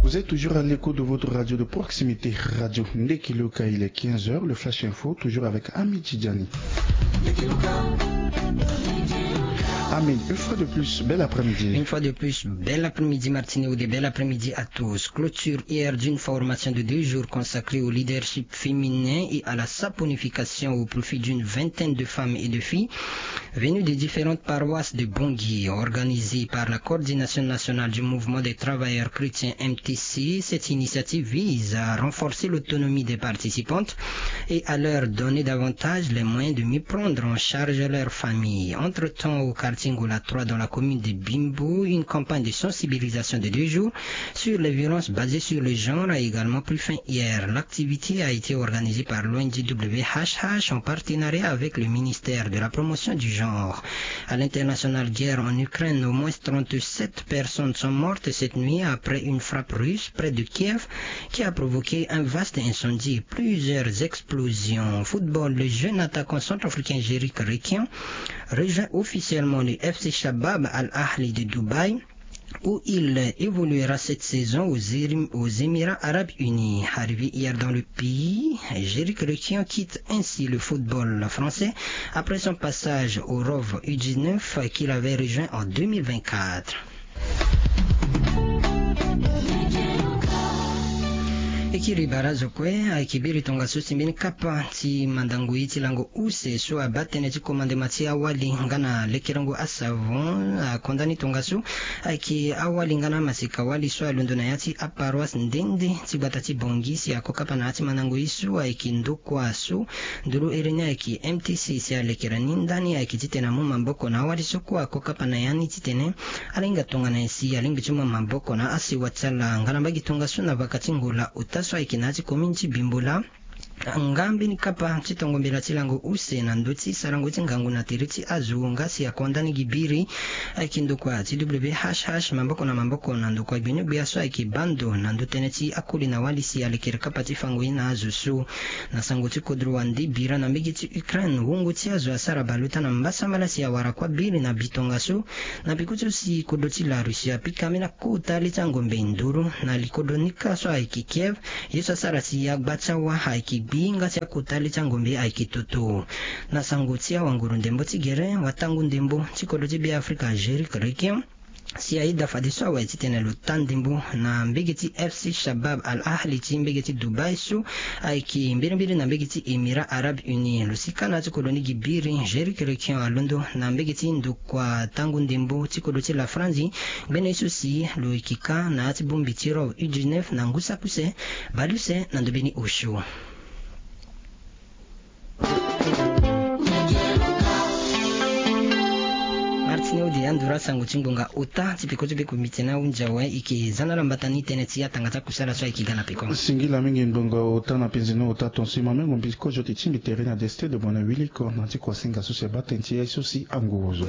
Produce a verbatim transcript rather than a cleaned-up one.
Vous êtes toujours à l'écoute de votre radio de proximité, Radio Ndekiloka. Il est quinze heures, le Flash Info, toujours avec Ami Tidjani. Amin, une fois de plus, bel après-midi. Une fois de plus, bel après-midi, Martine Oudé, bel après-midi à tous. Clôture hier d'une formation de deux jours consacrée au leadership féminin et à la saponification au profit d'une vingtaine de femmes et de filles venues des différentes paroisses de Bangui, organisée par la Coordination nationale du mouvement des travailleurs chrétiens, M T C. Cette initiative vise à renforcer l'autonomie des participantes et à leur donner davantage les moyens de mieux prendre en charge leur famille. Entre-temps, au quartier Ngola trois, dans la commune de Bimbo, une campagne de sensibilisation de deux jours sur les violences basées sur le genre a également pris fin hier. L'activité a été organisée par l'O N G W H H en partenariat avec le ministère de la Promotion du Genre. À l'international, guerre en Ukraine, au moins trente-sept personnes sont mortes cette nuit après une frappe russe près de Kiev qui a provoqué un vaste incendie et plusieurs explosions. Football, le jeune attaquant centrafricain Jerick Rekian rejoint officiellement le F C Shabab Al Ahli de Dubaï, où il évoluera cette saison aux, Érim- aux Émirats Arabes Unis. Arrivé hier dans le pays, Jerick Rekian quitte ainsi le football français après son passage au Rov U dix-neuf qu'il avait rejoint en deux mille vingt-quatre. E kiri barazo kue ayeke biri tongaso si mbeni kapa ti mandango ye ti lango use so abaa tënë ti komandema ti awali nga na lekerengo asavon akonda ni tongaso. Ayeke awali nga na amaseka wali so alondo na ya ti aparoise nde nde ti gbata ti Bangui si ako kapa na ya ti mandango ye so ayeke ndokua so nduru ere ni ayeke M T C si alekere ni ndani ayeke titene amu maboko na awali so kue ako kapa na ya ni titene ala hinga tongana nyen si alingbi ti mu maboko na asewa ti ala nga na mbage tongaso na vaka ti Ngola ota so ayeke na ya ti commune ti Bimbo laa. Nga mbeni kapa ti tongo mbela ti lango use na ndö ti sarango ti ngangu na tere ti azo nga si akonda ni gi biri ayeke ndokua ti W H H maboko na maboko na ndokua gbinigbia so ayeke baa ndo na ndö tënë ti akoli na wali si alekere kapa ti fango ye na azo so. Na sango ti kodro wande bira na mbage ti Ukraine, wungo ti azo asara bale ota na mbasambala si awara kuâ biri na bi tongaso. Na peko ti so si kodro ti la Russie apika ambeni akota le ti angombe nduru na likodro ni kâ so ayeke Kiev, ye so asara si agba ti awa ayeke gbi nga si akota le ti angombe ayeke toto. Na sango ti awanguru ndembo ti gere, watangu ndembo ti kodro ti Beafrika Jerick Rekian si ayeda fadeso awe titene lo taa ndembo na mbage ti F C Shabab Al Ahli ti mbage ti Dubaï so ayeke mbirimbiri na mbage ti Émirats Arabes Unis. Lo si kâ na ya ti kodro ni gi biri, Jerick Rekian alondo na mbage ti ndokua tangu ndembo ti kodro ti la Franzi. Ngbene ye so si lo yeke kâ na ya ti bongbi ti Rov U dix-neuf na ngu saki use bale use na ndo mbeni osio. Martine Ode, anduru asango ti ngonga ota ti peko ti be komite ni ahunzi awe. E yeke za na ala mbata ni tënë ti atanga ti akusala so ayeke ga na peko. Singila mingi ngonga ota na penze ni ota tonso e ma mengo mbi kozo ti ti mbi tere ni ade stade de bona wiliko na ti kuasinga so si abaa tënë ti ye so si anguruzo.